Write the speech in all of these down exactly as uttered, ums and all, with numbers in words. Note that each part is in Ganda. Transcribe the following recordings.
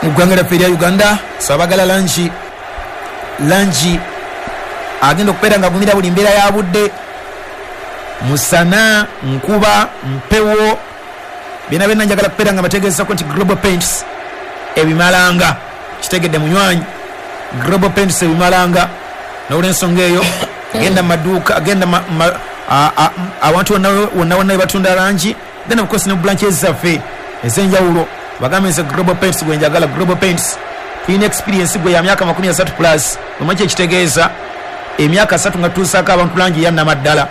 Mu ggwanga lyaffe erya Uganda. So abagala langi langi agenda okubeera nga agumira buli mbeera ya budde, musana, nkuba, mpewo, byonna byonna, njagala kubeera nga bategeezako nti Global Paints ebimalanga. Kitegedde munywanyi? Global Paints ebimalanga. N'olwensonga eyo, genda mu maduuka, genda ma- ma- a- a- awantu wonna wonna wonna webatunda langi, genda bukosi ne branches zaffe ez'enjawulo, bagambe nze Global Paints gwe njagala. Global Paints tulina experience gwe ya myaka makumi asatu plus. Omanyi kyekitegeeza emyaka asatu nga tutuusaako abantu langi eyannamaddala?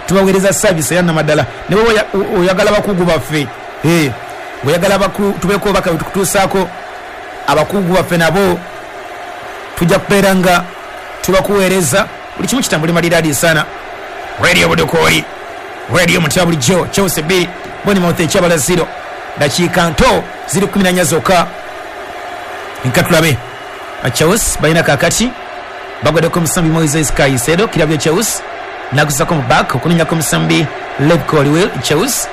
Tubaweereza service eyannamaddala. Ne bwe oyagala bakugu baffe, Eh, bweyagala tubeeko obaka bwetukutuusaako abakugu baffe, nabo tujja kubeera nga tubakuweereza, buli kimu kitambule maliraadi sana. Radio Budukooli, radio mutya bulijjo. Chelsea bbiri, Bournemouth ekyabala zero. Dakiika nto ziri kumi na nnya zokka. Nka tulabe Chelsea balina kakati bagwaddeko omusambi Moises Caicedo, kirabu ya Chelsea, nagusako mu back okunonyako omusambi Levi Colwill. Chelsea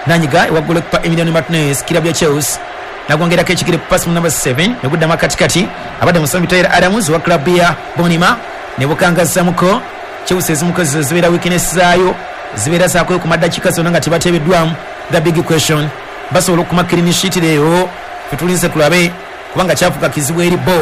nanyiga ewa goalkeeper Emiliano Martinez, kirabu ya Chelsea, nagwongerako ekigere, pass mu number seven, neguddamu akatikati abadde musambi Tyler Adams wa club ya Bournemouth, ne bukangazamuko. Chelsea ezimuko zibeera weakness zaayo zibeera zaakweyo ku maddakiika zonna nga tebateebeddwamu. The big question, basobola okuma clean sheet leero? Fe tulinze tulabe, kubanga kyafuka kizibu eri bo.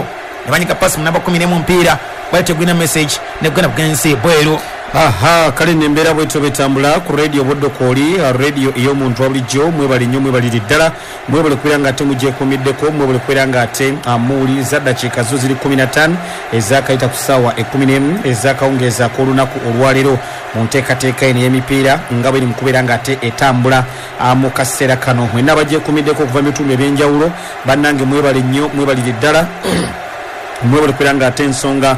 Ne banyiga pasi mu namba kumi n'emu, mpiira gwali tegulina message, negugenda bugenzi bweru. Aha, kale nembeera bwetyo betambula ku Radio Bodokoli, radio ey'omuntu wa bulijjo. Mwebale nnyo, mwebalire ddala, mwebale kubeera nga ate mugyekuumiddeko, mwebale kubeera nga ate muwuliriza. Dakiika zo ziri kkumi na ttaano ezakayita ku ssaawa ekkumi n'emu ezakawungeeza ak'olunaku olwaleero, mu nteekateeka eno ey'emipiira nga bweri mu kubeera nga ate etambula mu kaseera kano. Mwenna abagyekuumiddeko okuva mu bitundu ebyenjawulo, bannange mwebale nnyo, mwebalire ddala, mwebale kubeera nga ate ensonga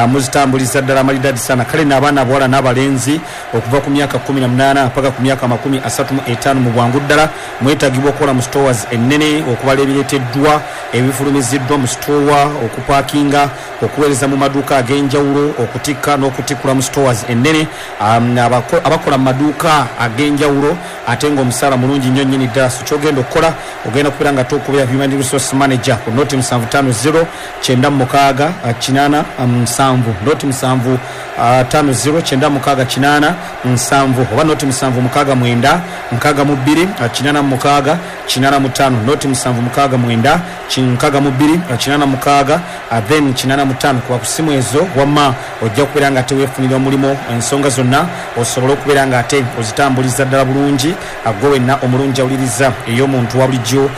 muzitambuliza ddala amalidadi sana. Kale n'abaana abawala n'abalenzi okuva ku myaka kkumi na munaana paka ku myaka makumi asatu mu etaano, mu bwangu ddala mwetagibwa okukola mu stores ennene, okubala ebireeteddwa, ebifulumiziddwa mu store, okupaakinga, okuweereza mu maduuka ag'enjawulo, okutikka n'okutikkula mu stores ennene, um, abakola mu maduuka ag'enjawulo, ate ng'omusaala mulungi nnyo nnyini ddala. So kyogenda okukola, ogenda kubeera nga tokubira human resource manager ku noti musanvu ttaano zero kyenda mukaaga kinaana musanvu, noti musanvu ttaano zero kyenda mukaaga kinaana nsanvu, oba noti musanvu mukaaga mwenda nkaaga mu bbiri kinaana mu mukaaga kinaana mu ttaano, noti musanvu mukaaga mwenda nkaaga mu bbiri kinaana mukaaga then kinaana mu ttaano. Kuba ku simu ezo wamma ojja kubeera nga ate weefunira omulimu, ensonga zonna osobole okubeera nga ate ozitambuliza ddala bulungi, gwe wenna omulungi awuliriza ey'omuntu wa bulijjo,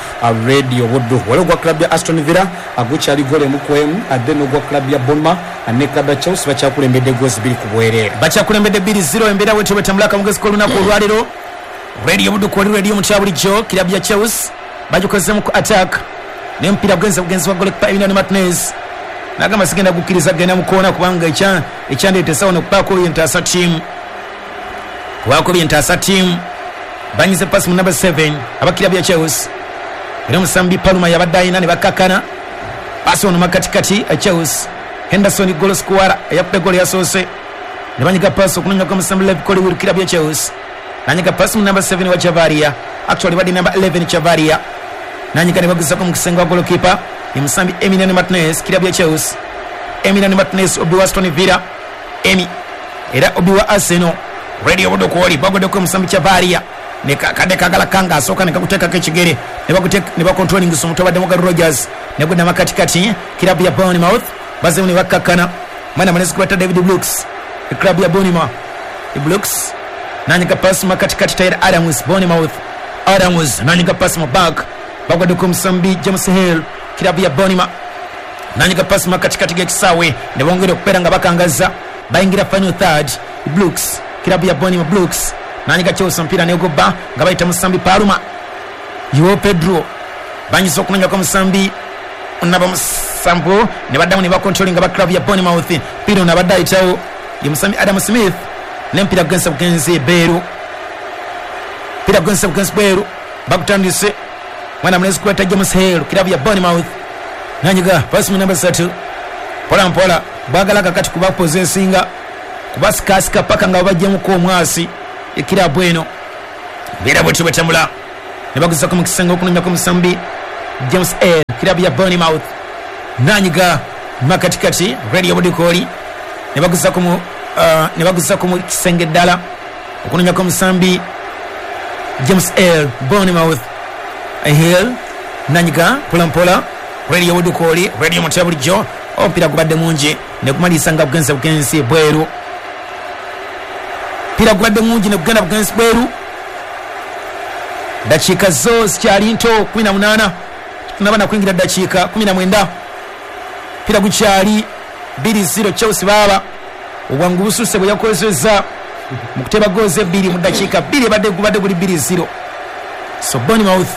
Radio Buddu. Wali ogwa club ya Aston Villa gukyali golo emu ku emu, then ogwa club ya Bournemouth ne club ya Chelsea bakyakulembedde goals bbiri ku bwereere. Bakyakulembedde bbiri zero. Embeera bwetyo bwetambula akamugezi k'olunaku olwaleero. Radio Buddu kwoli, radio mutya bulijjo. Kirabu ya Chelsea bagikozemu ku attack n'omupiira gugenze bugenzi wa goalkeeper Emiliano Martinez, nagamba sigenda gukkiriza genda mukoona, kubanga ekyandeeta esawa nokubaako byentaasa tiimu, kubaako byentaasa tiimu. Banyize pasi mu number seven abakirabu ya Chelsea, era omusambi Palmer yabadde ayina ne bakkakkana. Pasi ono makatikati, Chelsea, Henderson goal scorer eyakuba egolo yasoose, ne banyiga pasi okunonyako omusambi Levi Colwill, kirabu ya Chelsea, nanyiga pasi mu number seven wa Chavaria, actually badde number eleven Chavaria, nanyiga ne baguzako mu kisenge wa goalkeeper ye musambi Emiliano Martinez, kirabu ya Chelsea. Emiliano Martinez, obi wa Aston Villa, Emi era obi wa Arsenal. Radio Budokwoli, bagoddeko omusambi Chavaria, kadde kagala kanga asooka ne kakuteekako ekigere ne bacontrollingisa omutu abadde Morgan Rogers, negudda makatikati. Kirabu ya Bournemouth bazemu ne bakkakkana. Mwana munezi kubata David Brooks, club ya Bournemouth. Brooks nanyiga pasi makatikati, Tyler Adams, Bournemouth. Adams nanyiga pasi mu back, bagwaddeko omusambi James Hill, kirabu ya Bournemouth, nanyiga pasi makatikati g'ekisaawe ne bongera okubeera nga bakangaza, bayingira final third. Brooks, kirabu ya Bournemouth, Brooks nanyiga Chelsea, omupiira negobba nga bayita musambi Palmer, Joao Pedro banyiza okunonyako musambi naba musambu, ne baddamu ne bacontrollinga ba club ya Bournemouth. Piro nabadde ayitawo ye musambi Adam Smith, n'empiira gugenza bugenzi bweru, mpira gugenza bugenzi bweru. Bagutandise, mwana munezi kweta James Hill, kirabu ya Bournemouth, nanyiga pasi mu namba satu, mpola mpola bagala kakati kubapossessinga, kubasikasika paka nga babajjemuko omwasi ekirabu eno. Mbeera bwetyo bwetambula ne baguzako mu kisenge okunonyako musambi James L kirabu ya Bournemouth nanyiga makatikati Radio Budukoli ne baguzako mu uh, ne baguzako mu kisenge ddala okunonyako musambi James L Bournemouth Hill nanyiga mpola mpola Radio Budukoli Radio Mutya bulijjo ompira gubadde mungi ne kumalisa nga bugenze bugenzi bweru pira gubadde mungi ne kugenda bugenzi bweru dakiika zo zikyali nto kumi na munaana tunaba kuyingira dakiika kumi na mwenda pira gukyali bbiri zero Chelsea baba obwangu bususe bwe yakozesa mu kuteba goals ebbiri mu dakiika bbiri ebadde gubadde guli bbiri zero so Bournemouth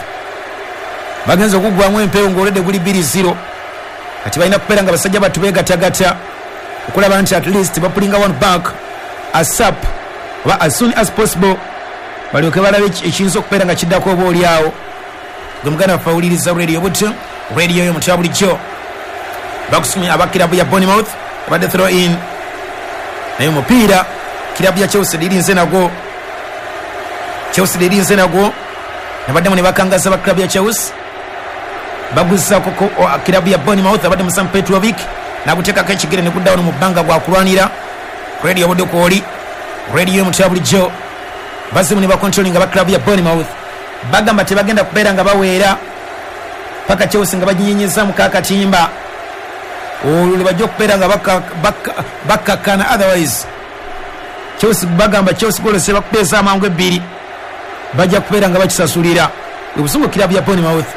bagenze okugwamu empewo ng'olwedde guli bbiri zero kati balina kubeera nga basajja batu beegatagata okulaba nti at least bapulinga one back asap oba as soon as possible balyoke balabe ekiyinza okubeera nga kiddako oba oli awo gwe muganda waffe awuliriza radio buto radio yo mutya bulijjo bakusumya aba kirabu ya Bournemouth abadde throw in naye omupiira kirabu ya Chelsea lirinze nagwo Chelsea lirinze nagwo nabaddemu ne bakangaza ba kirabu ya Chelsea baguzaako kirabu ya Bournemouth abadde Musa Petrovic naguteekako ekigere ne guddawo mu bbanga gwa kulwanira radio Budukoli radio mutya bulijjo bazimu ne bakontrolinga aba kirabu ya Bournemouth bagamba tebagenda kubeera nga baweera paka Chelsea nga baginyenyeza mu kakatimba olwo lwe bajja okubeera nga bakkakkana otherwise Chelsea bagamba Chelsea golose bakubeeza amangu ebbiri bajja kubeera nga bakisasulira obusungu kirabu ya Bournemouth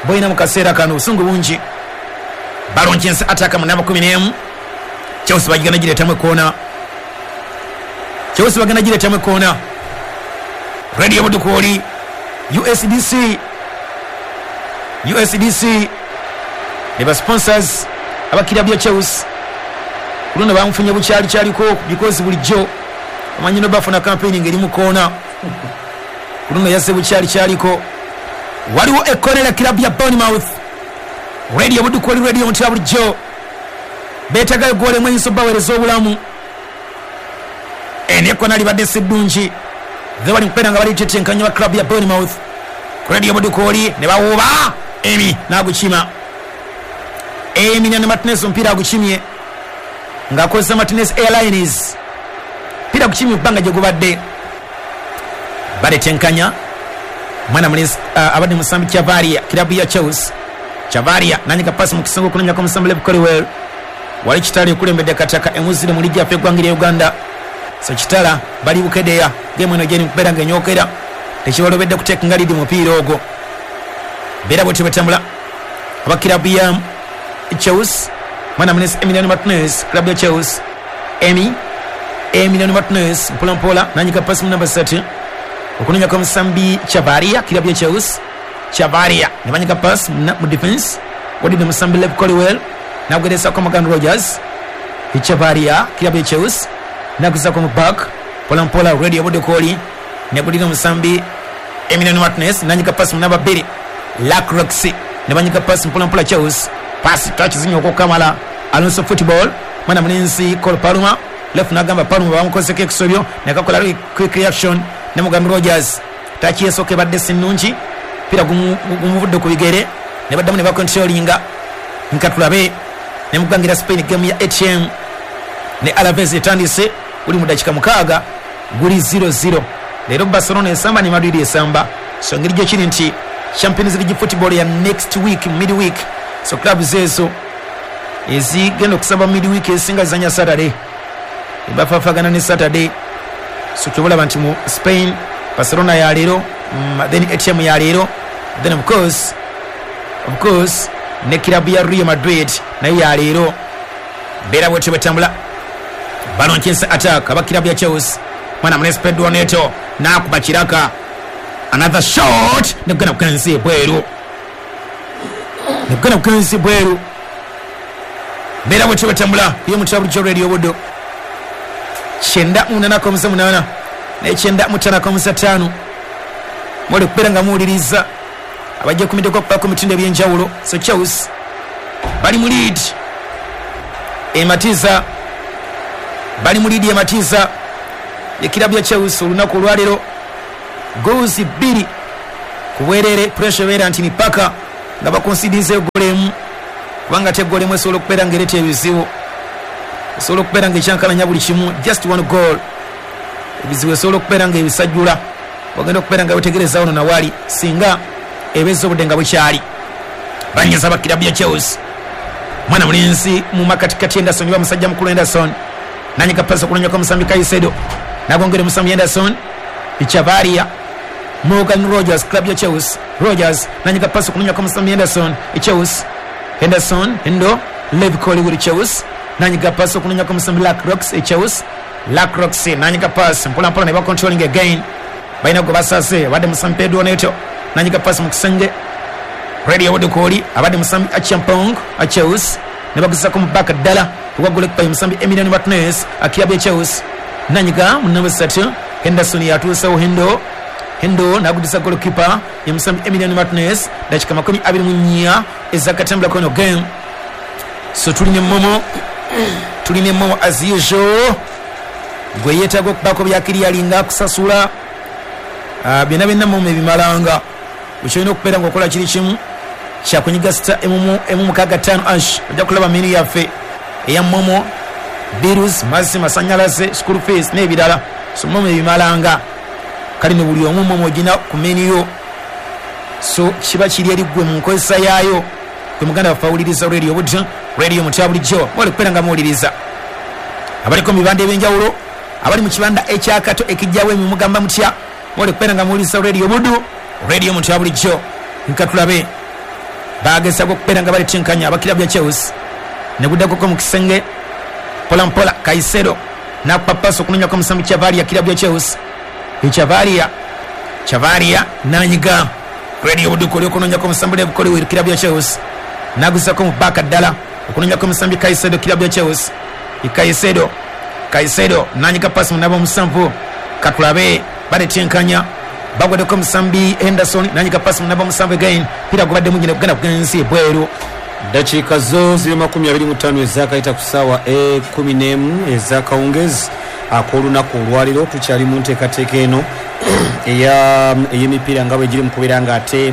boyina mu kaseera kano obusungu bungi balonkense ataka mu namba kumi n'emu Chelsea bagigenda gireetamu ekoona Chelsea bagenda gireetamu ekoona Radio Budukoli U S D C U S D C ne ba sponsors abakirabu ya Chelsea luno bamufunye bukyali kyaliko because bulijjo omanyi no bafuna campaign ngeri mu koona luno yaze bukyali kyaliko waliwo ekonera kirabu ya Bournemouth Radio Budukoli radio mutya bulijjo beetagayo goal emwe eyinza obbaweereza obulamu eno ekona libadde si ddungi ze bali mukubeera nga balitetenkanya ba club ya Bournemouth Radio Budukoli ne bawuba Emi n'agukima Emi ne Martinez omupiira agukimye ng'akozesa Martinez Airlines mpira gukimye bbanga gye gubadde baletenkanya mwana mulenzi uh, abadde musambi Chavaria kirabu ya Chelsea Chavaria nanyiga pasi mu kisongo okunonyako omusambi Lev Colwell wali Kitala ekulembedde Kataka emuzire mu liigi yaffe eggwanga lya Uganda so Kitala bali Bukedeya game eno gyeri mukubeera ng'enyookera tekibalobedde kuteeka lidi mupiira ogwo beera bwetyo betambula aba kirabu ya Chelsea mwana mulenzi Emiliano Martinez kirabu ya Chelsea Emi Emiliano Martinez mpola mpola nanyiga pasi mu namba ssatu okunonyako omusambi Chavaria kirabu ya Chelsea Chavaria ne banyiga pasi mu defense wadidde musambi Lev Colwell nagugeresako Morgan Rogers Chavaria kirabu ya Chelsea naguzako mu back mpola mpola Radio Budukoli negulira omusambi Emiliano Martinez nanyiga pasi mu namba bbiri Lacroix ne banyiga pasi mpola mpola Chelsea pasi touch zinyo okukamala Alonso football mwana mulenzi Cole Palmer left nagamba Palmer bamukozeko ekisobyo nekakola quick reaction ne Morgan Rogers touch esooka ebadde si nnungi mpira gumuvudde ku bigere ne baddamu ne bakontrolinga nka tulabe ne mugangira Spain game ya A T M ne Alaves etandise guli mu dakika mukaaga guli zero zero leero Barcelona esamba ne Madrid esamba so engeri gye kiri nti Champions League football ya next week midweek so clubs ezo ezigenda okusamba midweek esinga zanya Saturday ebafafagana ne Saturday so kyobulaba nti mu Spain Barcelona ya leero mm, then A T M ya leero then of course of course ne kirabu ya Real Madrid nayo ya leero beera bwetyo bwetambula balonkense attack aba kirabu ya Chelsea mwana mulenzi Pedro Neto n'akuba kiraka another shot negana kukansi bweru negana kukansi bweru beera bwetyo bwetambula yo mutya bulijjo Radio Buddo kyenda munaana komusa munaana n'ekyenda mutaano komusa ttaano mwali okubeera nga muwuliriza abajja kumiddeko okubaako mitindo ebyenjawulo so Chelsea bali mu lead ematiza bali mu lead ematiza ekirabu ya Chelsea olunaku olwaleero goals bbiri ku bwerere pressure ebeera nti mipaka Nga bakonsidize eggolo emu, kubanga ate eggolo emu esobola okubeera ng'ereeta ebizibu, esobola okubeera ng'ekyankalanya buli kimu. Just one goal, ebizibu esobola okubeera ng'ebisajjula, wagenda okubeera nga wetegereza wano nawali singa ebeeza obudde nga bukyali. Banyiza bakirabu ya Chelsea, mwana mulinzi mu makatikati Henderson, wa musajja mukulu Henderson nanyiga pasi okunonyako omusambi Caicedo, nagongera omusambi Henderson, Chavaria, Morgan Rogers, club ya Chelsea. Rogers nanyiga pasi okunonyako omusambi Henderson, Chelsea, Henderson, Hendo, Levi Colwill, Chelsea nanyiga pasi okunonyako omusambi Lack Rocks, Chelsea, Lack Rocks nanyiga pasi mpola mpola ne ba controlling again, balina gwe basase abadde musambi Pedro Neto nanyiga pasi mu kisenge. Radio Wodokoli abadde musambi Achampong a Chelsea ne baguzako mu baka ddala ogwa goalkeeper musambi Emiliano Martinez akirabu ya Chelsea nanyiga mu namba ssatu Henderson yatuusewo Hendo, Hendo nagudisa goalkeeper ya musambi Emiliano Martinez. Dakika makumi abiri mu nnya ezakatambula kono game. So tulina momo, tulina momo as usual, gwe yeetaaga okubaako byakiriyalinga kusasula uh, byonna byonna momo ebimalanga. Ekyolina okubeera ng'okola kiri kimu kyakunyiga sita emu emu mukaaga ttaano ash, ojja kulaba menu yaffe eya momo, bills, mazzi, masannyalaze, school fees n'ebirala. So momo ebimalanga, kale ne buli omu momo ogina ku menu yo, so kiba kiri eri ggwe mu nkozesa yaayo. Gwe muganda waffe awuliriza radio Buddu, radio mutya bulijjo mwali kubeera nga muwuliriza, abaliko mu bibanda ebyenjawulo, abali mu kibanda ekyakato ekijjawo emimugamba mutya, mwali kubeera nga muwuliriza radio Buddu, radio mutya bulijjo. Nkatulabe bagezaako okubeera nga baletinkanya abakirabu ya Chelsea, ne guddakoko mu kisenge mpola mpola. Caicedo nakupa pasi okunonyako omusambi Chavaria, kirabu ya Chelsea, Chavaria, Chavaria nanyiga radio Buddu oli okunonyako omusambi Levi Colwill, kirabu ya Chelsea naguzako mu baka ddala okunonyako omusambi Caicedo, kirabu ya Chelsea, Caicedo, Caicedo nanyiga pasi munaba omusanvu. Katulabe baletinkanya, bagwaddeko omusambi Henderson nanyiga pasi munaba omusanvu again, pira gubadde mungi ne gugenda kugenzi ebweru. Dakiika zo ziri makumi abiri mu ttaano ezakayita ku ssaawa ekkumi n'emu ez'akawungezi ak'olunaku olwaliro. Tukyali mu nteekateeka eno ey'emipiira nga bwe giri mu kubeera ng'ate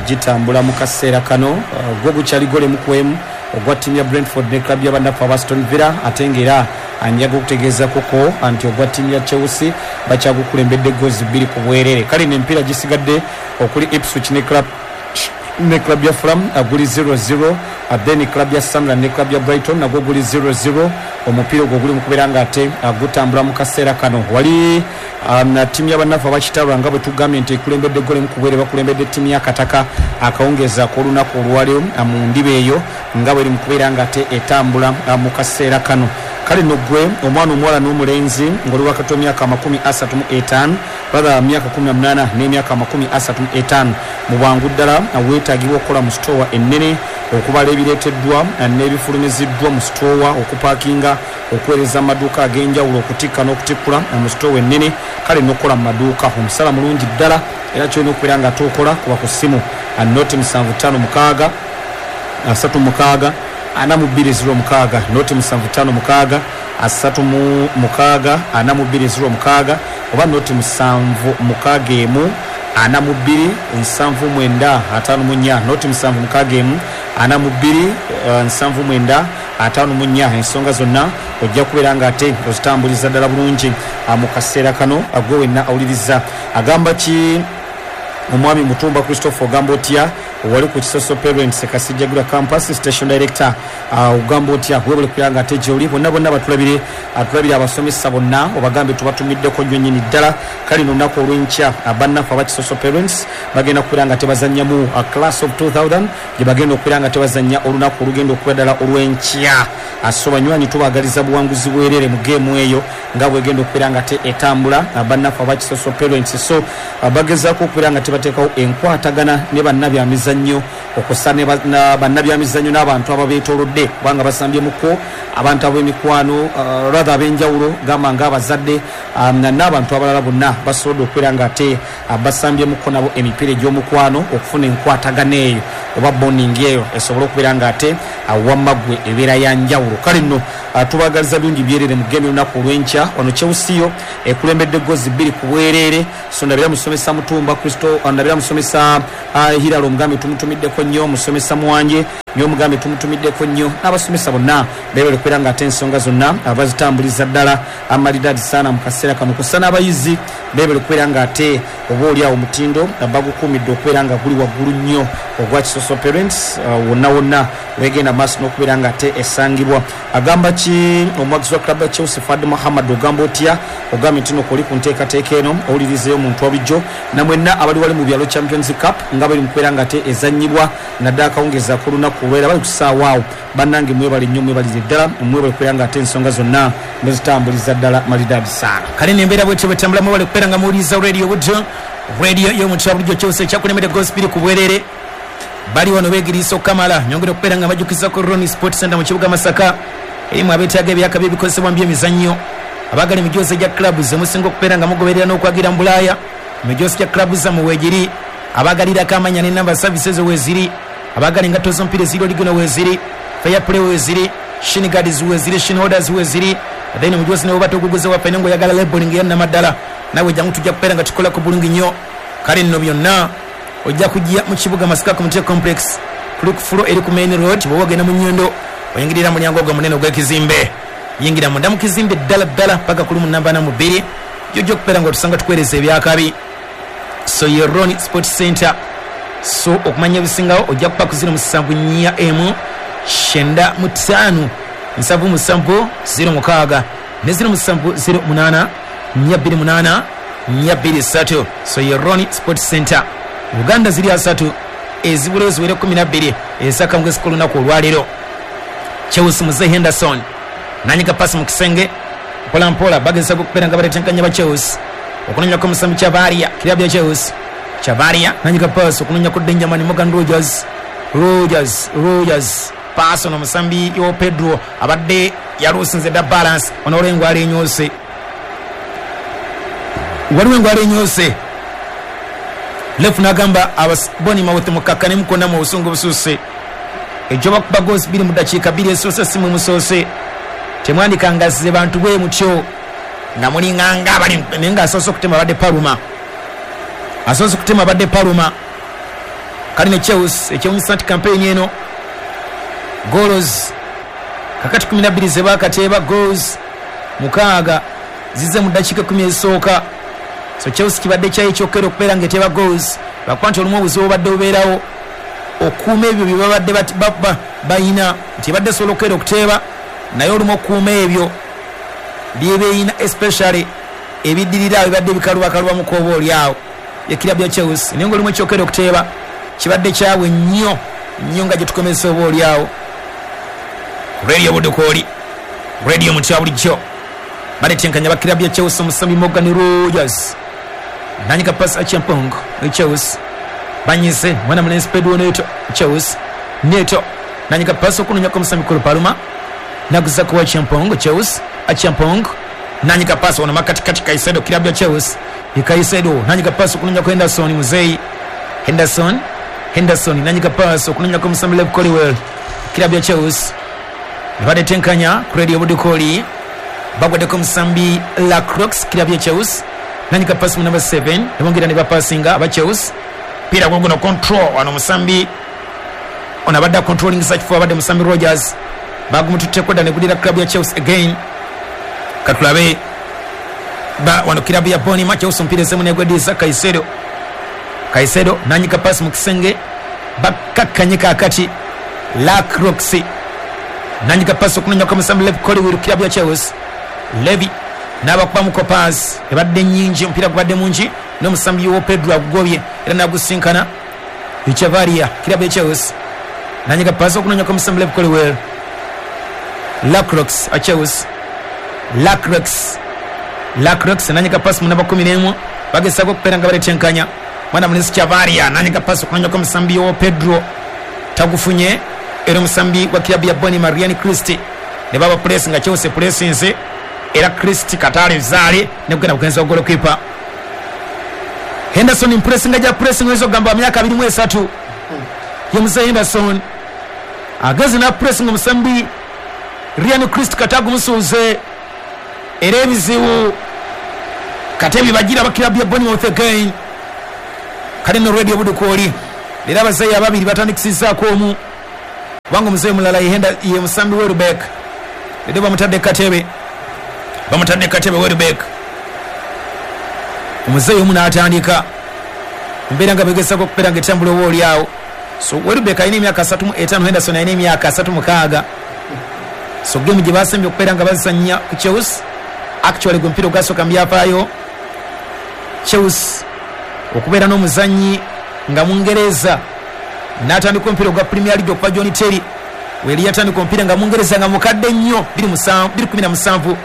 gitambula mu kaseera kano. Gwo gukyali gole mu kwemu ogwa ttiimu ya Brentford ne club y'abannaffe aba Aston Villa, ate ng'era anjaga okutegeeza koko nti ogwa ttiimu ya Chelsea bakyagukulembedde goals bbiri ku bwerere. Kale n'emipiira gisigadde okuli Ipswich ne club ne club ya Fulham guli zero zero, then club ya Sunderland ne club ya Brighton nagwo guli zero zero. Omupiira ogwo guli mu kubeera ng'ate gutambula mu kaseera kano. Wali na ttiimu y'abannaffe abakitabula nga bwe tugambye nti ekulembedde gole mu kubwere, bakulembedde ttiimu y'Akataka akawungeezi ak'olunaku olwaleero mu ndiba eyo nga bweri mu kubeera ng'ate etambula mu kaseera kano. Kale nno ggwe omwana omuwala n'omulenzi ng'oli wakati w'emyaka amakumi asatu mu etaano rather myaka kumi na munaana n'emyaka amakumi asatu mu etaano, mu bwangu ddala weetaagibwa okukola mu sitoowa ennene, okubala ebireeteddwa n'ebifulumiziddwa mu sitoowa, okupaakinga, okuweereza amaduuka ag'enjawulo, okutikka n'okutikkula mu sitoowa ennene, kale n'okukola mu maduuka. Omusala mulungi ddala, era kyolina okubeera nga tookola kuba ku ssimu noti musanvu ttaano mukaaga asatu mukaaga ana mu bbiri ziro mukaaga, noti musanvu ttaano mukaaga asatu mu mukaaga ana mu bbiri ziro mukaaga, oba noti musanvu mukaaga emu ana mu bbiri nsanvu mwenda ataano mu nnya, noti musanvu mukaaga emu ana mu bbiri nsanvu mwenda ataano mu nnya. Ensonga zonna ojja kubeera ng'ate ozitambuliza ddala bulungi mu kaseera kano. Gwe wenna awuliriza agamba ki omwami Mutumba Christopher, ogamba otya wali ku Kisoso Parents Kasijjagirwa Campus Station Director, ogamba otya webale kubeera nga ate gy'oli. Bonna bonna batulabire, atulabire abasomesa bonna obagambe tubatumiddeko nnyo nnyini ddala. Kale n'olunaku olw'enkya bannaffe aba Kisoso Parents bagenda kubeera nga tebazannyamu class of two thousand gye bagenda okubeera nga tebazannya olunaku olugenda okuba ddala olw'enkya. So banywanyi tubaagaliza buwanguzi bwerere mu geemu eyo nga bwegenda okubeera nga te etambula bannaffe aba Kisoso Parents. So bagezaako okubeera nga tebateekawo enkwatagana ne bannabyamizannyo, okussa ne bannabyamizannyo n'abantu ababeetoolodde, kubanga basambyemuko abantu ab'emikwano rather ab'enjawulo gamba ng'abazadde n'abantu abalala bonna basobodde okubeera nga ate basambyemuko nabo emipiira egy'omukwano okufuna enkwatagana eyo oba bonding eyo esobole okubeera nga ate wamma ggwe ebeera ya njawulo. Kale nno Tubagaliza birungi byerere mu game olunaku olw'enkya. Wano Chelsea yo ekulembedde gozi bbiri ku bwereere. So ndabira musomesa Mutumba Kristo, ndabira musomesa uh, Hilal omugambe tumutumiddeko nnyo, musomesa Muwanje nyo omugambe tumutumiddeko nnyo, n'abasomesa bonna beebale kubeera nga ate ensonga zonna abazitambuliza ddala amalidadi sana mu kaseera kano. Kussa n'abayizi beebale kubeera nga ate oba oli awo omutindo bagukuumidde okubeera nga guli waggulu nnyo ogwa Kisoso Parents uh, wonna wonna wegenda maaso n'okubeera nga ate esangibwa. Agamba ki omuwagizi wa club ya Chelsea Fad Muhammad, ogamba otya? Ogambye nti nokoli ku nteekateeka eno owulirizeeyo omuntu wa bulijjo namwenna abali wali mu byalo Champions Cup nga bali mu kubeera nga ate ezannyibwa naddala akawungeezi ak'olunaku olwera bali ku ssaawa awo. Bannange mwebale nnyo, mwebalize ddala, mwebale kubeera nga ate ensonga zonna muzitambuliza ddala malidadi sana. Kale nembeera bwetyo bwetambula, mwebale kubeera nga muwuliriza radio Buddo, radio y'omuntu wa bulijjo. Chelsea ekyakulembedde goals bbiri ku bwereere. Bali wano beegiriisa okukamala. Nyongera okubeera nga bajjukiza ku Ronnie Sport Center mu kibuga Masaka, erimu abeetaaga ebyaka by'ebikozesebwa mu by'emizannyo, abaagala emijoozi egya club ze musinga okubeera nga mugoberera n'okwagira mu Bulaaya, emijoozi gya club zammwe weegiri, abaagalirako amanya n'ennamba services weeziri, abaagala engatto z'omupiira eziri oligino weeziri, fair play weeziri, shin guards weeziri, shin holders weeziri. Then omujoozi ne bw'oba toguguze waffe naye ng'oyagala labeling eya nnamaddala, nawe jangu tujja kubeera nga tukolako bulungi nnyo. Kale nno byonna ojja kujja mu kibuga Masaka ku Mutye Complex, kuli ku fulo eri ku main road. Bw'oba ogenda mu Nnyondo oyingirira mulyango ogwo munene ogw'ekizimbe, yingira munda mu kizimbe ddala ddala paka ku lumu namba ana mu bbiri, jojja okubeera nga otusanga tukuweereza ebyakabi. So ye Ronnie Sport Center. So okumanya ebisingawo ojja kuba ku ziro musanvu nnya emu kyenda mu ttaano nsanvu musanvu ziro mukaaga ne ziro musanvu ziro munaana nnya bbiri munaana nnya bbiri ssatu. So ye Ronnie Sport Center. Uganda ziri asatu ezibula ziwere kumi na bbiri ezakangwezi k'olunaku olwaleero. Chelsea Mzee Henderson nanyiga pasi mu kisenge mpola mpola, bagezaako okubeera nga baletenkanya ba Chelsea okunonyako omusambi Chavaria, kirabu ya Chelsea. Chavaria nanyiga pasi okunonyako Benjamin Morgan Rogers, Rogers, Rogers pasi ono omusambi yo Pedro abadde yaluusinze dda balance. Ono olwo engwala enyoose, waliwo engwala enyoose. Lefu n'agamba abasiboni mawuthi mukakkane mukonna mu busungu bususse. Ejjo bakuba goals bbiri mu ddakiika bbiri esoose si mwe musoose. Temwandikangazze bantu bwe mutyo nga mulinganga abali, naye ng'asoose okutema abadde Paluma, asoose okutema abadde Paluma. Kale ne Chelsea ekyewunyisa nti campaign eno goals kakati kumi na bbiri ze baakateeba, goals mukaaga zize mu ddakiika kkumi ezisooka. So Chelsea kibadde kyayo ekyokera okubeera ng'eteeba goals, lwakuba nti olumu obuzibu obadde bubeerawo okuuma ebyo bye babadde bayina, nti ebadde esobola okukeera okuteeba, naye olumu okuuma ebyo byebeeyina especially ebiddirira awo bibadde bikalubakalubamukko oba oli awo ekirabu ya Chelsea. Naye ng'olumu ekyokera okuteeba kibadde kyabwe nnyo nnyo nga gye tukomesa oba oli awo. Radio Budukooli, radio mu kya bulijjo, baletenkanya ba kirabu ya Chelsea omusambi Morgan Rogers nanyiga pasi Acheampong Chelsea banyize mwana mulenzi Pedro Neto Chelsea Neto nanyiga pasi okunonyako omusambi Cole Palmer naguzako Acheampong Chelsea Acheampong nanyiga pasi ono makatikati Caicedo kirabu ya Chelsea Caicedo nanyiga pasi okunonyako Henderson Muzei Henderson Henderson nanyiga pasi okunonyako omusambi Lev Colwell kirabu ya Chelsea. Baletenkanya ku Radio Budukooli, bagwaddeko omusambi Lacroix kirabu ya Chelsea nanyiga pasi mu number seven nebongera ne bapasinga aba Chelsea. Pira guno control wano musambi ono abadde controlling such for abadde musambi Rogers bagumututteko dda ne gudira club ya Chelsea again. Katulabe ba wano kirabu ya Boni Chelsea omupiira ezemu negwediza Caicedo, Caicedo nanyiga pasi mu kisenge bakkakkanye kaakati Lacroix nanyiga pasi okunonyako omusambi Levi Colwill kirabu ya Chelsea. Levi n'abakubamuko paasi ebadde nnyingi, omupiira gubadde mungi n'omusambi wo Pedro agugobye era n'agusinkana Chavaria kirabu ya Chelsea nanyiga pasi okunonyako omusambi Levi Colwill Lacroix a Chelsea Lacroix Lacroix nanyiga pasi mu namba kumi n'emu bagezaako okubeera nga baletenkanya mwana mulenzi Chavaria nanyiga pasi okunonyako omusambi wo Pedro tagufunye era omusambi wa kirabu ya Boni Mariani Christie ne baba press nga Chelsea pressinze era Christie Katale Zale nekugenda kugenza goalkeeper Henderson impressinga ja pressing wezo gamba myaka abiri mu esatu ye Musa Henderson ageze na pressing omusambi Ryan Christ katagumusuuze era ebizibu kate bibagira abakirabu ya Bournemouth again. Kale no Radio Budukooli era abazeeyi ababiri batandikisizzaako omu kubanga omuzeeyi omulala yehenda ye musambi Welbeck era bamutadde katebe bamutadde katebe Welbeck omuzeeyi omu n'atandika embeera nga begezaako okubeera nga etambula oba oli awo. So Welbeck alina emyaka asatu mu etaano, Henderson alina emyaka asatu mukaaga. So gemu gye basembye okubeera nga bazannya ku Chelsea, actually gwe mupiira ogwasooka mu byafaayo Chelsea okubeera n'omuzannyi nga Mungereza n'atandika omupiira ogwa Premier League okuva John Terry weri yatandika omupiira nga Mungereza nga mukadde nnyo bbiri kumi na musanvu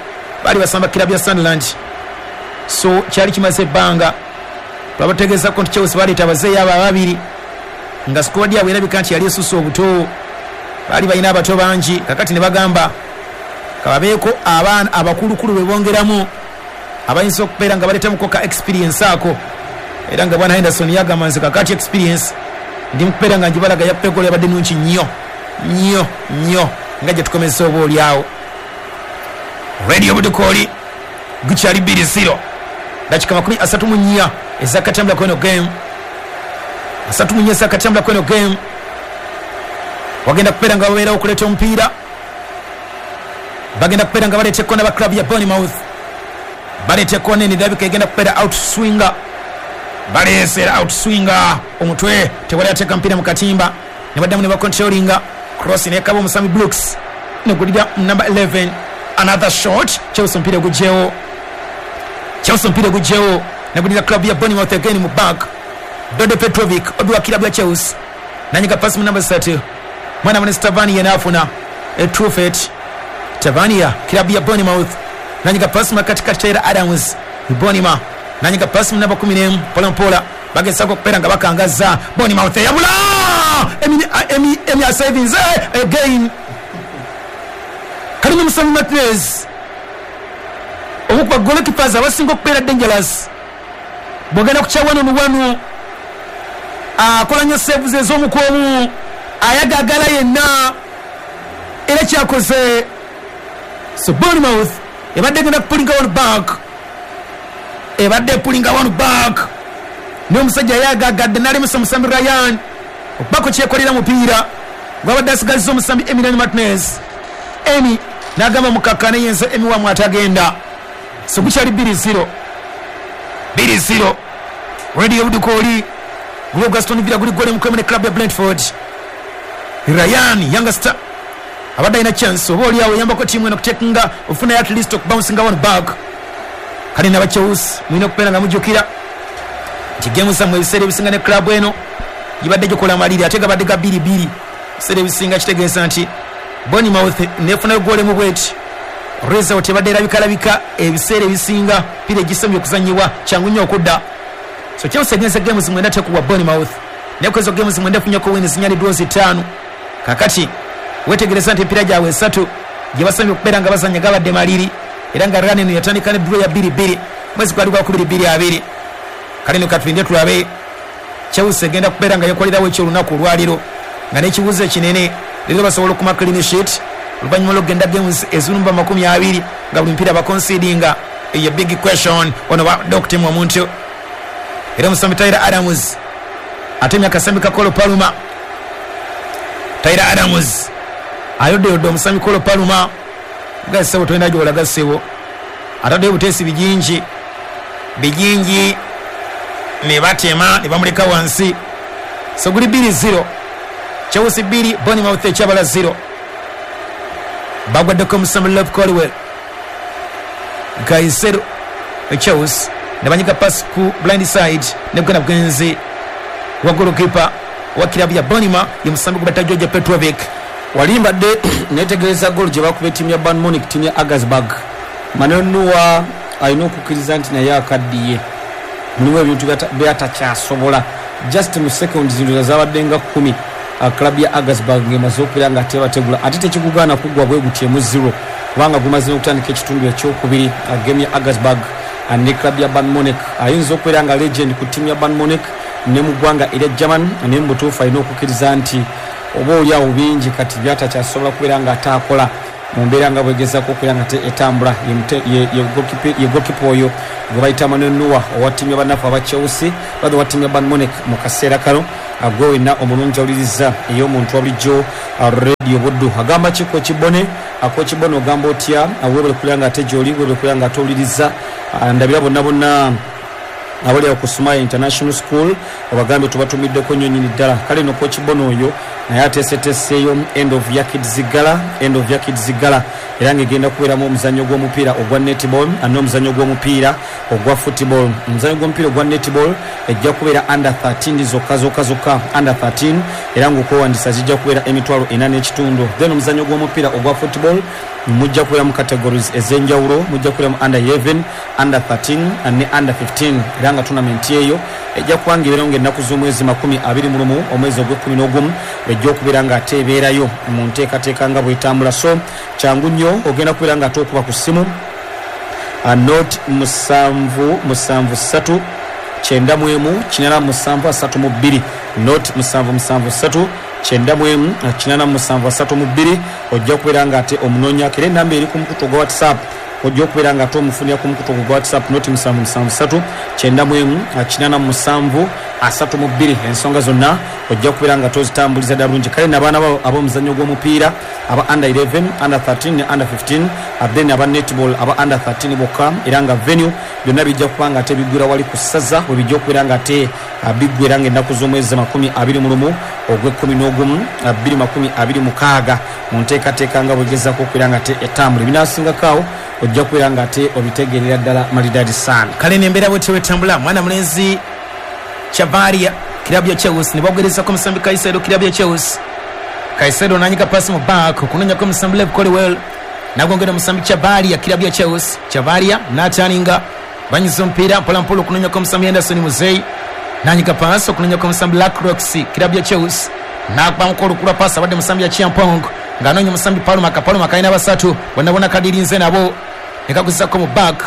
baali basamba kirabu ya Sunderland. So kyali kimaze ebbanga twabategeezako nti Chelsea baleeta abazeeyi abo ababiri nga squad yaabwe erabika nti yali esusse obuto, baali balina abato bangi. Kakati ne bagamba kababeeko abaana abakulukulu be bongeramu abayinza okubeera nga baleetamuko ka experience ako, era nga bwana Henderson yagamba nze kakati experience ndi mukubeera nga njibalaga ya Pep yabadde nnungi nnyo nnyo nnyo nga gye tukomeza oba oli awo. Radio Budukooli gukyali bbiri zero dakika makumi asatu mu nnya ezakatambula kweno game asatu mu nnya ezakatambula kweno game. Wagenda kubeera nga babeerawo okuleeta omupiira, bagenda kubeera nga baleeta ekkona ba club ya Bournemouth, baleeta ekkona eno erabika egenda kubeera outswinger, baleesera outswinger omutwe tewali ateeka mupiira mu katimba ne baddamu ne bacontrollinga cross nekaba omusambi Brooks negulira number eleven another shot Chelsea omupiira gugyewo Chelsea omupiira gugyewo negulira club ya Bournemouth again mu back. Dode Petrovic obi wa club ya Chelsea nanyiga pass mu number thirty mwana mwana Stavania n'afuna Truffet Tavania club ya Bournemouth nanyiga pass mu katikati Taylor Adams Bournemouth nanyiga pass mu namba kumi n'emu mpola mpola bagezako okubeera nga bakangaza Bournemouth eyabula Emi Emi Emi Savings again Kalina Musambi Martinez omukuba goalkeepers abasinga okubeera dangerous bwogenda ku kya wano wano akola nnyo saves ez'omukomu ayagagala yenna era kyakoze. So Bournemouth ebadde egenda kupulinga one back ebadde pulinga one back n'omusajja yagagadde n'alemesa omusambi Ryan okubako kyekolera mupiira gwabadde asigalizza omusambi Emiliano Martinez. Emi n'agamba mukakkane yenze Emi wamwe atagenda. So gukyali bbiri zero bbiri zero Radio Budukooli guli Gaston Villa guli gole mukwemu ne club ya Brentford. Ryan youngster abadde alina chance oba oli awo eyambako ttiimu eno okutekinga ofuna at least okubouncinga one back. Kale n'aba Chelsea mulina okubeera nga mujjukira nti gemu zammwe ebiseera ebisinga ne club eno gibadde gikola maliri ate gabadde ga bbiri bbiri ebiseera ebisinga kitegeeza nti Bournemouth nefunayo goal mu bweti result ebadde erabikalabika ebiseera ebisinga pira egisembye okuzannyibwa kyangu nnyo okudda. So Chelsea egenze games mwenda tekubwa Bournemouth naye kwezo games mwenda efunyeko wins nnya ne draws ttaano. Kakati wetegereza nti emipiira gyabwe esatu gye basembye okubeera nga bazannya gabadde maliri era nga run eno yatandika ne draw ya bbiri bbiri mwezi gwali gwa kubiri bbiri abiri. Kale no katulinde tulabe Chelsea egenda kubeera nga yekolerawo ekyolunaku olwaliro nga n'ekibuuzo ekinene leero basobola okuma clean sheet oluvannyuma lw'okugenda games ezirumba makumi abiri nga buli mupiira baconcedinga. Eyo big question ono badde okutemwa omuntu era omusambi Tyler Adams atemya akasambi ka Cole Palmer. Tyler Adams ayoddeyodde omusambi Cole Palmer gasebo tolina gy'olaga ssebo ataddeyo buteesi bijingi bijingi ne batema ne bamuleka wansi. So guli bbiri zero Chelsea bbiri Bournemouth ekyabala zero. Bagwaddeko omusambi Love Colwell Caicedo Chelsea ne banyiga pass ku blind side ne kugenda bugenzi wa goalkeeper wa kilabu ya Bournemouth ye musambi gwe George Petrovic. Wali mbadde netegereza goal gye bakuba ettiimu ya Bayern Munich ttiimu ya Augsburg. Manuel Neuer alina okukkiriza nti naye akaddiye mulimu ebintu byatakyasobola just mu seconds zino zabadde nga kkumi club ya Augsburg ng'emaze okubeera nga tebategula ate tekikugaana kuggwa bwe gutyo emu zero kubanga gumaze n'okutandika ekitundu ekyokubiri game ya Augsburg ne club ya Bayern Munich. Ayinza okubeera nga legend ku ttiimu ya Bayern Munich ne mu ggwanga erya German naye mu butuufu alina okukkiriza nti oba oli awo bingi kati byatakyasobola kubeera nga ataakola. Mu mbeera nga bwegezaako okubeera nga etambula ye goalkeeper oyo gwe bayita Manuel Neuer owa ttiimu y'abanafu aba Chelsea, rather owa ttiimu ya Bayern Munich mu kaseera kano. Gwe wenna omulungi awuliriza ey'omuntu wa bulijjo Radio Buddu, agamba ki Coach Bone? Coach Bone, ogamba otya? Webale kubeera nga ate gy'oli, webale kubeera nga ate owuliriza. Ndabira bonna bonna abali awo ku Sumaya International School, obagambye tubatumiddeko nnyo nnyini ddala. Kale no Coach Bone oyo naye ateeseteeseeyo end of year kids gala, end of year kids gala, era ng'egenda kubeeramu omuzannyo gw'omupiira ogwa netball n'omuzannyo gw'omupiira ogwa football. Omuzannyo gw'omupiira ogwa netball ejja kubeera under thirteen zokka zokka zokka, under thirteen, era ng'okwewandisa zijja kubeera emitwalo ena n'ekitundu. Then omuzannyo gw'omupiira ogwa football mujja kubeera mu categories ez'enjawulo, mujja kubeera mu under eleven, under thirteen ne under fifteen, era nga tournament eyo ejja kuba nga ebeerawo ng'ennaku z'omwezi makumi abiri mu lumu omwezi ogw'ekkumi n'ogumu, ejja okubeera nga ate ebeerayo mu nteekateeka nga bwetambula. So kyangu nnyo, ogenda kubeera nga ate okuba ku ssimu nought musanvu musanvu ssatu kyenda mu emu kinana musanvu asatu mu bbiri, nought musanvu musanvu ssatu kyenda mu emu kinana musanvu asatu mu bbiri. Ojja kubeera nga ate omunoonyako, era enamba eri ku mukutu ogwa WhatsApp, ojja okubeera nga ate omufunira ku mukutu ogwa WhatsApp, nought musanvu musanvu ssatu kyenda mu emu kinana musanvu asatu mu bbiri. Ensonga zonna ojja kubeera nga tozitambuliza ddala bulungi. Kale nabaana ab'omuzannyo gw'omupiira aba under eleven, under thirteen ne under fifteen, then aba netball aba under thirteen bokka, era nga venue byonna bijja kuba nga ate biggwera wali ku ssaza, we bijja okubeera nga ate biggwera nga ennaku z'omwezi makumi abiri mu lumu ogw'ekkumi n'ogumu bbiri makumi abiri mukaaga, mu nteekateeka nga bwegezaako okubeera nga ate etambula. Ebinaasingako awo ojja kubeera nga ate obitegeerera ddala maridadi sana. Kale nembeera bwetyo wetambula. Mwana mulenzi Chavaria, kilabu ya Chelsea, ne bagerezako omusambi Caicedo, kilabu ya Chelsea. Caicedo nanyika pasi mu back okunonyako omusambi Lev Colwell, nagongera omusambi Chavaria, kilabu ya Chelsea. Chavaria nataninga banyiza omupiira mpola mpola okunonyako omusambi Anderson Muzei, nanyika pasi okunonyako omusambi Lacroix, kilabu ya Chelsea. Nakubamuko olukula pasi abadde musambi ya Chiampong ng'anoonya omusambi Paluma. Paluma kalina basatu bonna bonna kadirinze nabo nekaguzako mu back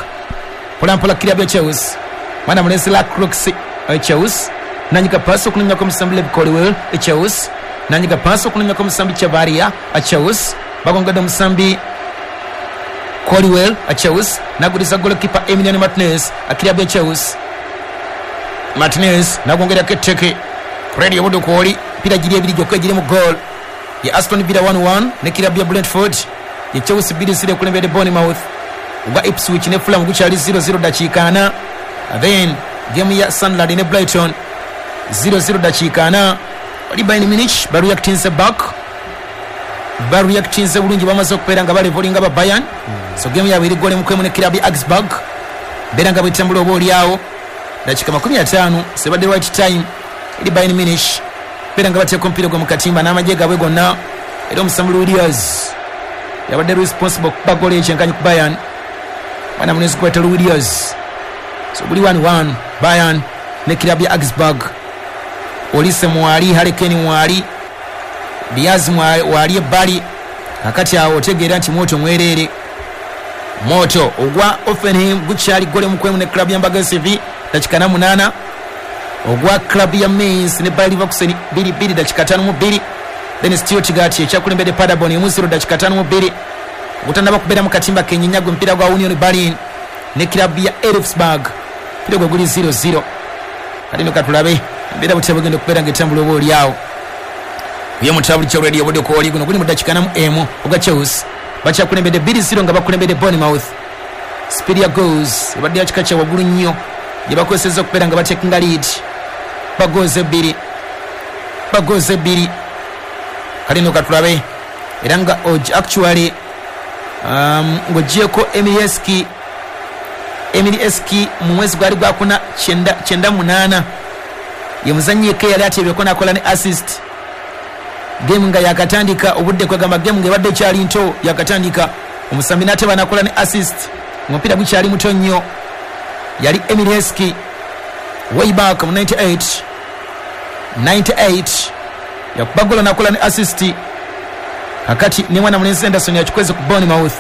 mpola mpola, kilabu ya Chelsea. Mwana mulenzi Lacroix, Chelsea, nanyika pasi okunonyako omusambi Lev Colwell, Chelsea, nanyika pasi okunonyako omusambi Chavaria, Chelsea. Bagongedde omusambi Colwell, Chelsea, naguliza goalkeeper Emiliano Martinez, kilabu ya Chelsea. Martinez nagongerako etteke. Radio Budukooli, mpira giri ebiri gyokka egiri mu goal ye Aston Villa one one ne kilabu ya Brentford, ye Chelsea two zero ekulembedde Bournemouth. Ogwa Ipswich ne Fulham gukyali zero zero dakiika ana. Then game ya Sunderland ne Brighton zero zero dakiika ana. Wali Bayern Munich bareactinze back, bareactinze bulungi, bamaze okubeera nga balevolinga ba Bayern. So game yaabwe eri goal mukwemu ne kilabu ya Augsburg. Beera nga bwetambula oba oliawo dakiika makumi ataano sebadde right time eri Bayern Munich beera nga bateeka omupiira gwe mu katimba n'amagye gaabwe gonna, era omusambi Luis yabadde responsible kuba goal ekyenkanyi ku Bayern. Mwana munezi kweta Luis. So buli one one Bayern ne kilabu ya Augsburg. Olise mwali, Harry Kane mwali, Diaz mwali ebbali. Kakati awo otegeera nti moto mwereere. Moto ogwa Hoffenheim gukyali gole mukwemu ne club ya Mbaga C V dakika na munana. Ogwa club ya Mainz ne Bayer Leverkusen bbiri bbiri dakika tano mu bbiri. Then Stuttgart ekyakulembedde Paderborn emu zero dakika tano mu bbiri. Ogutannaba kubeera mu katimba kenyinya gwe mupiira gwa Union Berlin ne club ya Elfsberg, mpira gwe guli zero zero. Kati no katulabe embeera butya bwegenda okubeera ng'etambula oba oliawo ye mutabuli kya Radio Budukooli. Guno guli mu dakiika namu emu ogwa Chelsea bakyakulembedde bbiri zero nga bakulembedde Bournemouth. Speed ya goals ebadde ya kika kya waggulu nnyo gye bakozesezza okubeera nga batekinga lead, bagoze ebbiri, bagoze ebbiri. Kale no katulabe, era nga actually um, ng'ogyeko Emil Heskey, Emil Heskey mu mwezi gwali gwakuna kyenda munaana ye muzannyi yekka yali ateebyeko n'akola ne assist game nga yakatandika obudde, kwegamba game ng'ebadde ekyali nto yakatandika, omusambi n'ateba n'akola ne assist, omupiira gukyali muto nnyo. Yali Emil Heskey way back mu ninety-eight ninety-eight yakuba gola n'akola ne assist. Kakati ne mwana mulenzi Anderson yakikweze ku Bournemouth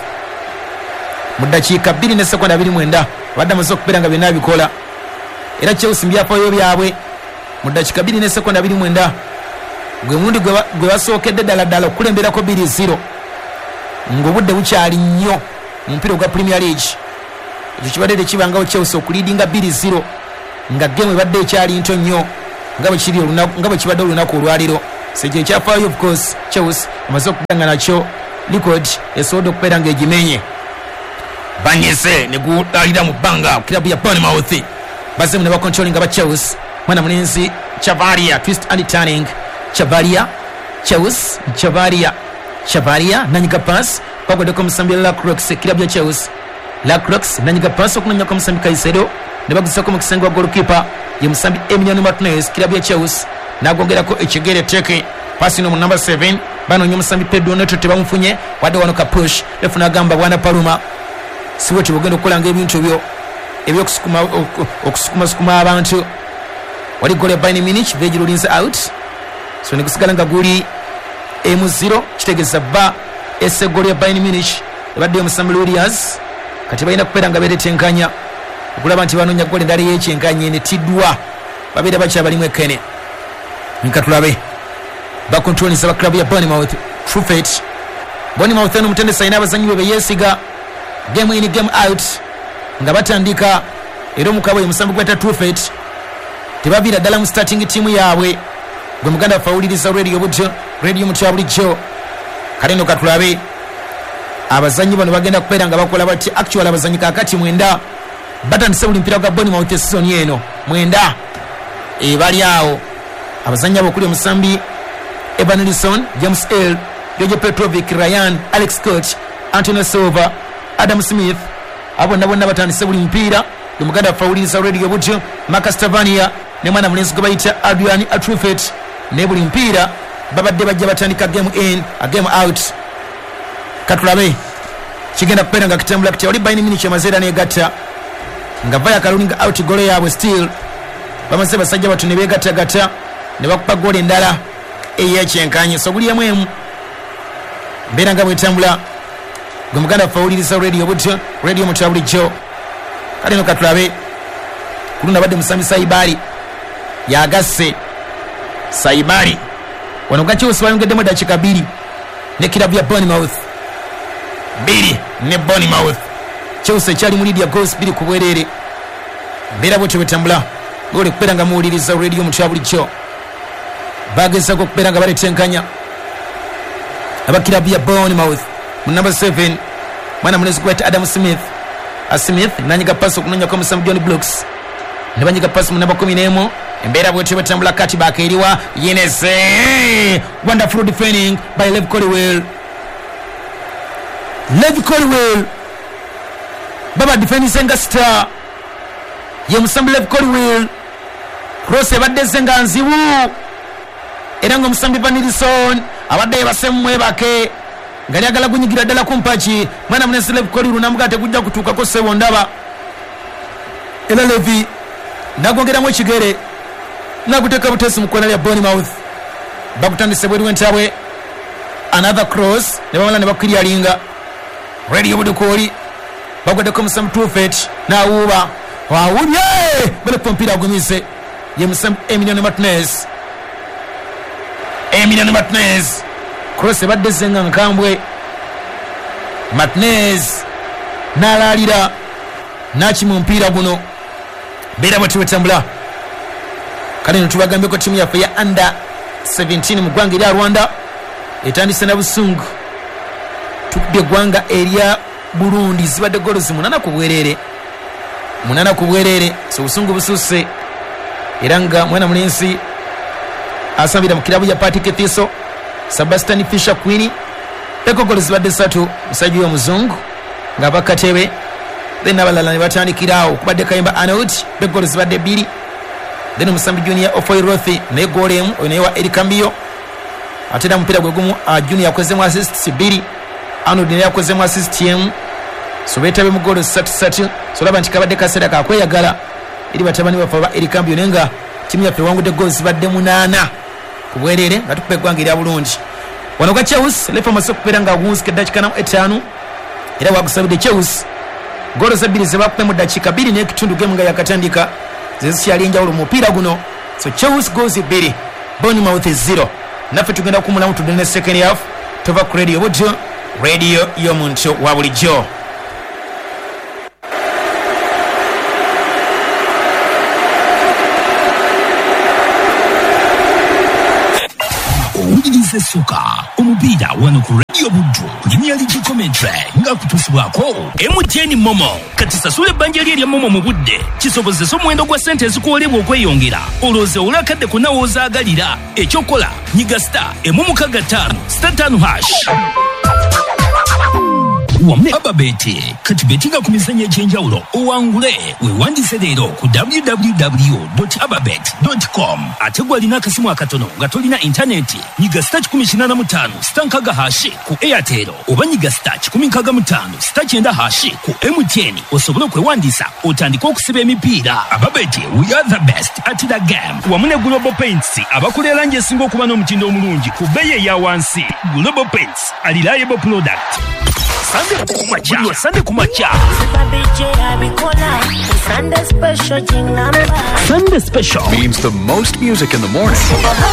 mu ddakiika bbiri ne sekonda abiri mu mwenda, abadde amaze okubeera nga byonna abikola. Era Chelsea mbyafaayo byabwe mu ddakiika bbiri ne sekonda abiri mu mwenda gwe mulundi gwe basookedde ddala ddala okukulemberako bbiri zero. Ng'obudde bukyali nnyo mu mupiira ogwa Premier League. Ekyo kibadde tekibangawo Chelsea okuleadinga bbiri zero nga game ebadde ekyali nto nnyo nga bwe kiri olunaku, nga bwe kibadde olunaku olwaleero. So ekyo ekyafaayo, of course Chelsea emaze okubeera nga nakyo record esobodde okubeera ng'egimenye. Banyeze ne gulalira mu bbanga kirabu ya Bournemouth. Bazemu ne bacontrollinga ba Chelsea. Mwana mulenzi Chavaria, twist and turning. Chavaria, Chelsea, Chavaria, Chavaria nanyiga pass bagwaddeko omusambi Lacroix, kirabu ya Chelsea. Lacroix nanyiga pass okunonyako omusambi Caicedo ne baguzako mu kisenge wa goalkeeper ye musambi Emiliano Martinez, kirabu ya Chelsea, n'agongerako ekigere teke pasi no mu number seven banoonya omusambi Pedro Neto tebamufunye, wadde wano ka push refu n'agamba bwana Paluma siwe tebugenda okukolanga ebintu byo ebyokusukuma okusukumasukuma abantu. Wali goal ya Bayern Munich vegirulinze out, so negusigala nga guli emu zero, kitegeeza ba ese goal ya Bayern Munich ebadde omusambi Williams. Kati balina kubeera nga beetetenkanya okulaba nti banoonya goal endala ey'ekyenkanya enetiddwa, babeera bakyabalimu ekkene. Nka tulabe bakontrolinza ba club ya Bournemouth. Truffet Bournemouth eno omutendesi alina abazannyi be beyeesiga game in game out nga batandika, era omukabo ye musambi gweta Truffet tebaviira ddala mu starting team yaabwe. Gwe muganda waffe awuliriza radio bujjo, radio mutya bulijjo. Kale nno katulabe abazannyi bano bagenda kubeera nga bakola bati. Actual abazannyi kaakati mwenda batandise buli mupiira gwa Bournemouth season eno, mwenda ebali awo. Abazannyi abo okuli omusambi Evan Nilsson, James L, George Petrovic, Ryan, Alex Scott, Antonio Silva, Adam Smith, abo bonna bonna batandise buli mupiira. Gwe muganda waffe awuliriza radio bujjo, Marcus Tavernier ne mwana mulenzi gwe bayita Adrian Truffet, ne buli mupiira babadde bajja batandika game in a game out. Katulabe kigenda kubeera nga kitambula kitya. Oli Bayern Munich emaze era negatta nga vaya kalulinga out goal yaabwe still bamaze basajja batu ne beegattagatta ne bakuba goal endala ey'ekyenkanyi. So guli emu emu mbeera nga bwetambula. Gwe muganda waffe awuliriza radio bujjo, radio mutya bulijjo. Kale no katulabe ku luno abadde musambi Saibari yagasse Saibari wano ga Chelsea bayongeddemu eddakiika bbiri ne kirabu ya Bournemouth, bbiri ne Bournemouth. Chelsea ekyali mu lead ya goals bbiri ku bwereere. Mbeera bwetyo bwetambula ng'oli kubeera nga muwuliriza radio mutya bulijjo. Bagezaako okubeera nga baletenkanya aba kirabu ya Bournemouth mu number seven mwana mulenzi gweta Adam Smith. A Smith nanyiga pasi okunonyako omusambi John Brooks ne banyiga pasi mu namba kumi n'emu. Embeera bwetyo bwetambula. Kati bakeeriwa Yenese, wonderful defending by Lev Colwill. Lev Colwill baba defendinze nga star ye musambi Lev Colwill. Cross ebadde ezze nga nzibu era ng'omusambi Van Nilsson abadde yebase mumwebake nga lyagala gunyigira ddala ku mpaki. Mwana munensi Lev Colwill namugaa tegujja kutuukako ssebo ndaba, era Levi nagongeramu ekigere naguteeka buteesi mu kkona lya Bournemouth. Bagutandise bweru w'entabwe, another cross ne bamala ne bakiryalinga. Radio Budukooli bagwaddeko omusambi Truffet n'awuuba awubye baleka omupiira agumize ye musambi Emiliano Martinez. Emiliano Martinez cross ebadde ezze nga nkambwe. Martinez n'alaalira n'akima omupiira guno. Mbeera bwetyo bwetambula. Kale no tubagambyeko ttiimu yaffe ya under seventeen mu ggwanga erya Rwanda etandise na busungu. Tukubye eggwanga erya Burundi zibadde goals munana ku bwereere, munana ku bwereere. So obusungu bususse era nga mwana mulenzi asambira mu kirabu ya Partick Thistle Sebastian Fisher Queen eko goals zibadde ssatu, musajja oyo omuzungu nga bakatebe then abalala ne batandikirawo kubadde Kayimba Arnold be goals zibadde bbiri, then omusambi Junior Ofoy Rothi naye goal emu oyo naye wa Eric Cambio. Ate era omupiira gwe gumu uh, Junior akozemu assists bbiri, Arnold naye akozemu assist emu. So beetabe mu goal ssatu ssatu. So olaba nti kabadde kaseera kakweyagala eri batabani baffe aba Eric Cambio, naye nga ttiimu yaffe ewangudde goals zibadde munaana ku bwereere nga tukuba eggwanga erya Bulungi. Wano gwa Chelsea lefa amaze okubeera nga agunzika eddakiika namu etaano era wagusabidde Chelsea goolo ebbiri ze bakubye mu ddakiika bbiri n'ekitundu gemu nga yakatandika ze zikyali enjawulo mu mupiira guno. So Chelsea goals bbiri, Bournemouth zero. Naffe tugenda kuwummulamu tudde ne second half. Tova ku radio bujjo, Radio y'omuntu wa bulijjo. Owuliriza essuka omupiira wano ku Radio Buddu Premier League commentary nga kutuusibwako M T N Momo. Kati sasula ebbanja lye erya Momo mu budde kisobozesa omuwendo gwa ssente ezikuwerebwa okweyongera, olowooze olw'akadde konna w'ozaagalira. Ekyokola nyiga star emu mukaaga ttaano star ttaano hash. Wamu ne Ababeti kati betinga ku mizannyo egy'enjawulo owangule. Weewandiise leero ku w w w dot ababet dot com. Ate gwe alina akasimu akatono nga tolina intaneti, nyiga star kikumi kinaana mu ttaano star nkaaga hashi ku Airtel oba nyiga star kikumi nkaaga mu ttaano star kyenda hashi ku M T N osobole okwewandiisa otandike okusiba emipiira. Ababeti, we are the best at the game. Wamu ne Global Paints abakola erangi esinga okuba n'omutindo omulungi ku bbeeyi eya wansi. Global Paints, a reliable product. Sunday kumacha, Sunday kumacha. Sunday special Sunday special means the most music in the morning.